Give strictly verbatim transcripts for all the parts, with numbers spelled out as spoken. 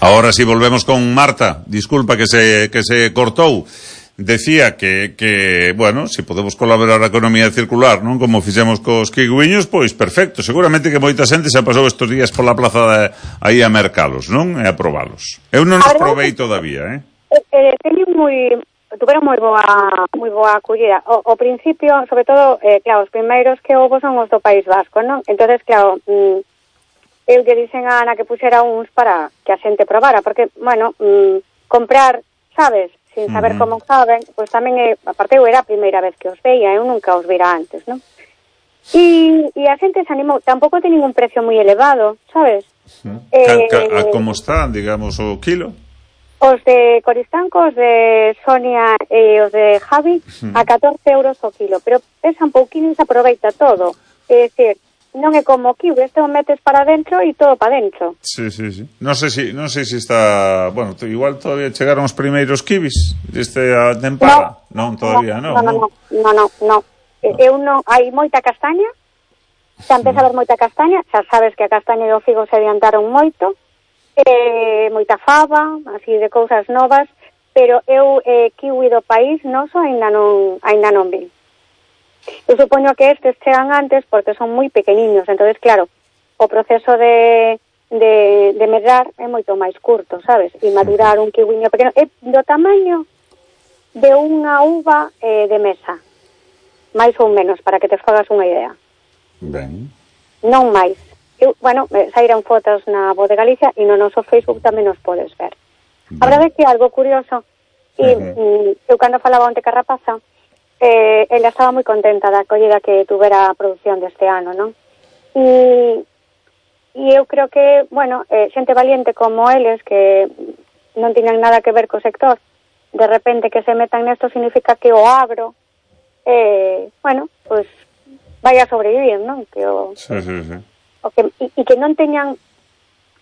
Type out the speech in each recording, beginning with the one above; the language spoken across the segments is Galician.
Ahora sí volvemos con Marta. Disculpa que se que se cortou. Decía que, que, bueno, se si podemos colaborar a economía circular, non? Como fixemos cos kiwiños, pois perfecto. Seguramente que moita xente xa pasou estes días pola plaza de, aí a mercalos, non? E a probalos. Eu non os provei todavía, eh? Eh, teñen moi, tuveron moi boa, moi boa acollida. O, o principio, sobre todo, eh, claro, os primeiros que houve son os do País Vasco, non? Entonces, claro, mm, eu lle dixen a Ana que puxera uns para que a xente probara, porque, bueno, mm, comprar, sabes, sin saber uh-huh. como saben, pois pues tamén é, aparte eu era a primeira vez que os veía, eu nunca os vira antes, non? E, e a xente se animou, tampouco ten ningún precio moi elevado, sabes? Uh-huh. Eh, ca, ca, como están, digamos, o kilo? Os de Coristanco, os de Sonia e os de Javi, uh-huh. a catorce euros o kilo, pero pesa un pouquinho e se aproveita todo, é dicir, non é como kiwi, este o metes para dentro e todo para dentro. Sí, sí, sí. Non sei se si, non sei se si está, bueno, igual todavía chegaron os primeiros kiwis deste a tempada. Non, non todavía non. Non, non, non, non, non, non. Eu non, hai moita castaña. Xa empeza a haber moita castaña, xa sabes que a castaña e o figo se adiantaron moito. Eh, moita fava, así de cousas novas, pero eu eh, kiwi do país noso aínda non, aínda non vi. Eu supoño que estes chegan antes porque son moi pequeniños, entonces claro, o proceso de, de, de medrar é moito máis curto, sabes? E madurar un kiwiño pequeno é do tamaño de unha uva eh, de mesa, máis ou menos, para que te fagas unha idea. Ben. Non máis. Eu, bueno, saíran fotos na Voz de Galicia e no noso Facebook tamén os podes ver. Ben. A verdade é que algo curioso, e uh-huh. eu cando falaba onte ca rapaza, Eh, ela estaba moi contenta da acollida que tuvera a produción deste ano, non? E, e eu creo que, bueno, eh, xente valiente como eles, que non tiñan nada que ver co sector, de repente que se metan nesto significa que o agro, eh, bueno, pois, pues, vai a sobrevivir, non? Que o, sí, sí, sí. O que, e, e que non teñan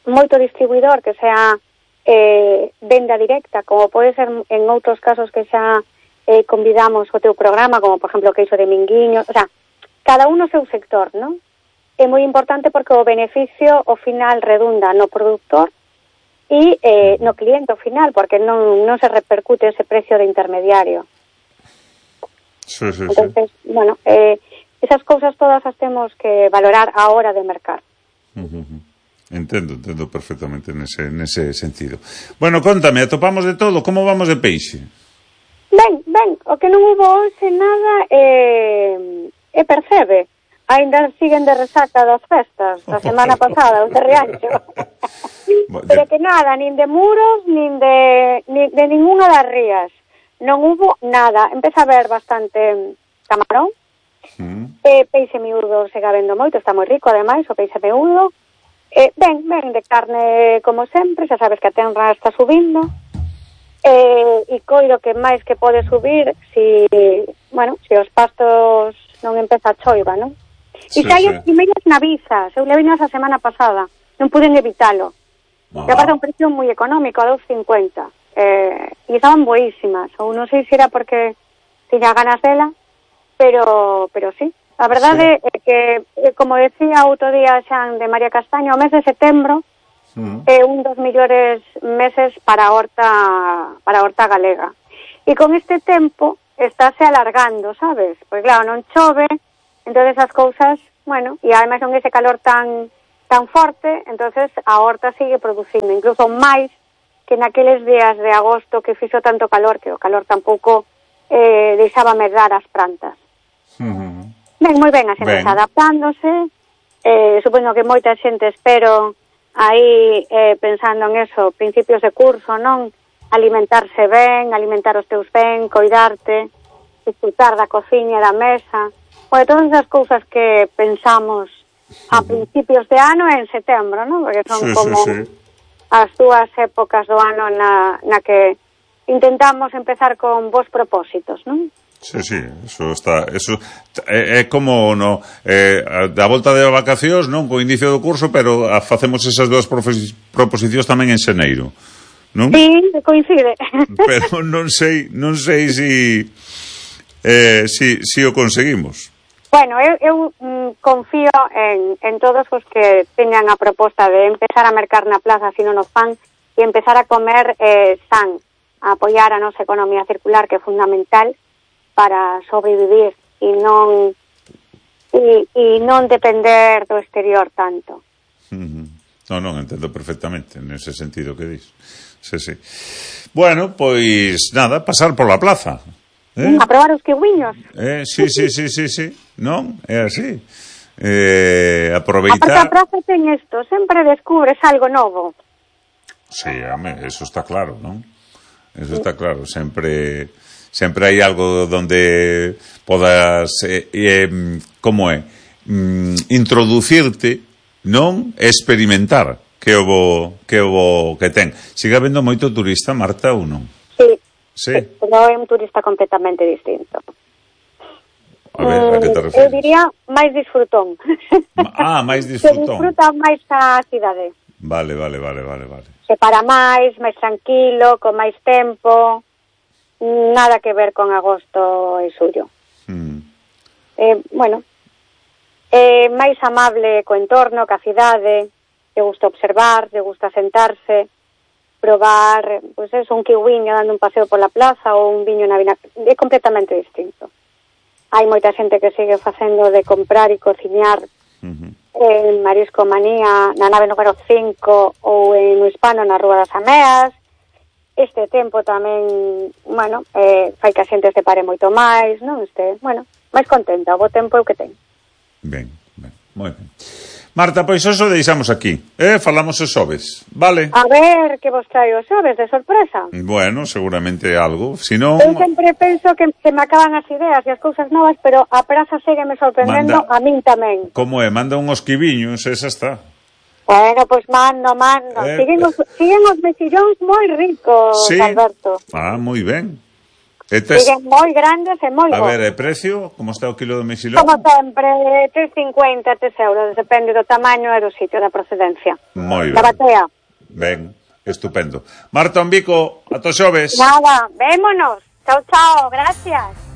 moito distribuidor que sea eh, venda directa, como pode ser en outros casos que xa Eh, convidamos o teu programa, como por exemplo o queixo de Minguiño, o sea, cada uno o seu sector, non? É moi importante porque o beneficio ao final redunda no productor e eh, no cliente ao final, porque non, non se repercute ese precio de intermediario. Sí, sí, Entonces, sí. bueno, eh, esas cousas todas as temos que valorar a hora de mercar. Uh-huh. Entendo, entendo perfectamente nese, nese sentido. Bueno, contame, atopamos de todo, como vamos de peixe? Ben, ben, o que non hubo hoxe nada é, é percebe. Ainda siguen de resaca das festas da semana pasada, os de Rianxo. Pero que nada, nin de muros, nin de, nin de ninguna das rías. Non hubo nada. Empeza a haber bastante camarón. Mm. Eh, peixe miúdo se vendo moito, está moi rico, ademais, o peixe miúdo. Eh, ben, ben, de carne como sempre, xa sabes que a tenra está subindo. Eh, e coido que máis que pode subir si, bueno, si os pastos non empeza a choiva, non? E Sí, xa hai sí. as primeiras navizas, eu levinas a semana pasada, non puden evitalo. E aparte un precio moi económico, a dos cincuenta. Eh, e estaban boísimas, ou non sei se era porque tiña ganas dela, pero, pero sí. A verdade sí. é que, como decía outro día Xan de María Castaño, o mes de setembro é un dos mellores meses para a horta para a horta galega. E con este tempo estáse alargando, sabes? Pois claro, non chove, entonces as cousas, bueno, e ademais con ese calor tan tan forte, entonces a horta sigue producindo, incluso máis que naqueles días de agosto que fixo tanto calor, que o calor tampouco eh, deixaba medrar as plantas. Uh-huh. Ben, moi ben, a xente está adaptándose, eh, supoño que moita xente espero aí eh, pensando en eso, principios de curso, non? Alimentarse ben, alimentar os teus ben, coidarte, disfrutar da cociña e da mesa, pois todas esas cousas que pensamos a principios de ano e en setembro, non? Porque son sí, como sí, sí. as dúas épocas do ano na, na que intentamos empezar con bons propósitos, non? Sí, sí, eso está, eso é, é como no eh, da volta de vacacións, non, co inicio do curso, pero a, facemos esas dúas proposicións tamén en xaneiro, non? Sí, coincide. Pero non sei, non sei si eh, si, si o conseguimos. Bueno, eu, eu mm, confío en, en todos os que teñan a proposta de empezar a mercar na plaza se non o fan e empezar a comer eh, san, a apoiar a nosa economía circular, que é fundamental para sobrevivir e non e, e non depender do exterior tanto. Uh-huh. Non, non, entendo perfectamente nese sentido que dis. Sí, sí. Bueno, pois nada, pasar pola plaza. Eh? A probar os kiwiños. Eh, sí, sí, sí, sí, sí. Non, é así. Eh, aproveitar... Aparte a praza ten isto, sempre descubres algo novo. Sí, home, eso está claro, non? Eso está claro, sempre sempre hai algo donde podas eh, eh, como é? Mm, introducirte, non? Experimentar que o bo, que o bo que ten. Sigue habendo moito turista, Marta, ou non? Sí. Sí. Pero é un turista completamente distinto. A ver, a que te refieres? Eu diría máis disfrutón. Ah, máis disfrutón. Se disfruta máis a cidade. Vale, vale, vale, vale, vale. Se para máis, máis tranquilo, con máis tempo. Nada que ver con agosto e xullo. Mm. Eh, bueno, é máis amable co entorno, ca cidade, te gusta observar, te gusta sentarse, probar, pois pues eso, un kiwiño dando un paseo pola plaza ou un viño na vina, é completamente distinto. Hai moita xente que sigue facendo de comprar e cociñar uh-huh. en Marisco Manía na nave número cinco ou en o Hispano na Rúa das Ameas. Este tempo tamén, bueno, eh, fai que a xente se pare moito máis, non? Este, bueno, máis contenta, o bo tempo é o que ten. Ben, ben, moi ben. Marta, pois eso deixamos aquí, eh? Falamos os xoves, vale? A ver, que vos traio os xoves de sorpresa. Bueno, seguramente algo, si non... Eu sempre penso que se me acaban as ideas e as cousas novas, pero a praza segue me sorprendendo. Manda... a min tamén. Como é? Manda unhos quiviños, esa está. Bueno, pois mando, mando. Eh... Siguen, os, siguen os mexillóns moi ricos, sí. Alberto. Ah, moi ben. Tes... Siguen moi grandes e moi bons. A ver, e precio? Como está o kilo de mexilón? Como sempre, tres cincuenta, tres euros, depende do tamaño e do sitio, da procedencia. Moi ben. Da batea. Ben, estupendo. Marta Ombico, ata xoves. Nada, vémonos. Chao, chao, gracias.